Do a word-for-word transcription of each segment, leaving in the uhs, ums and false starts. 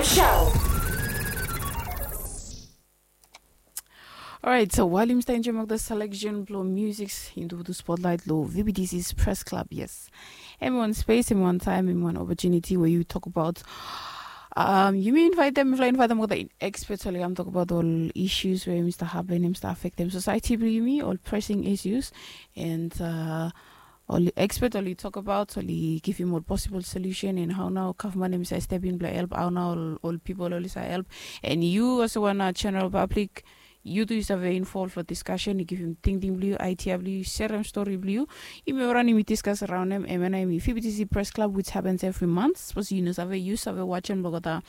Show. Alright, so wael yumi stap enjoem olgeta selection blong music into the spotlight long V B T C's Press Club, yes. Em wan space, em wan time, em wan opportunity where you talk about um, yumi invite them, mifala invite them olgeta experts oli kam talk about all issues where yumi stap happen, yumi stap affect them society blong yumi, all pressing issues, and uh, oli expert oli talk about oli givim ol possible solution and how nao gavman em save step in blong help, how nao ol, ol people oli save help, and you also wan general public, you tu yu save involve long discussion, yu givim tingting blong yu, idea blong yu, serem stori blong yu. Yumi ol raun yumi discuss around em, em nao yumi V B T C Press Club, which happens every month. Sapos yu no save, yu save watch em long olgeta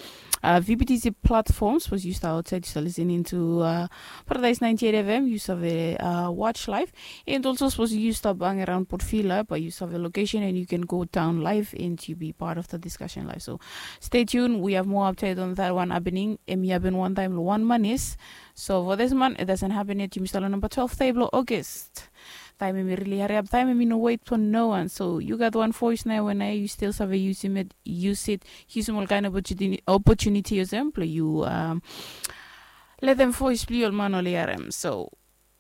uh, V B T C platform. Sapos yu stap outside, yu stap listening to uh, Paradise ninety-eight F M, yu save uh, watch live. And also, sapos yu stap hang around Port Vila, but yu save location and you can go down live and you be part of the discussion live. So stay tuned. We have more update on that one happening. Em i happen one time long one month is. So for this month, it doesn't happen yet. Yumi stap long namba twelve day blong August. Taem em i really hariap, taem em i no wait for no one. So yu gat wan voice nao, we nao yu stil save yusim it, use it, yusim ol kaen opportunity, opportunity olsem blong yu um, letem voice blong yu ol man oli harem. So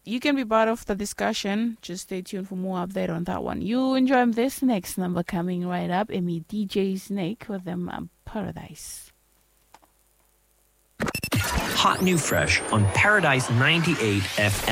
you can be part of the discussion. Just stay tuned for more update on that one. You enjoy this next number coming right up. Em i D J Snake with them um, Paradise. Hot new fresh on Paradise ninety-eight F M.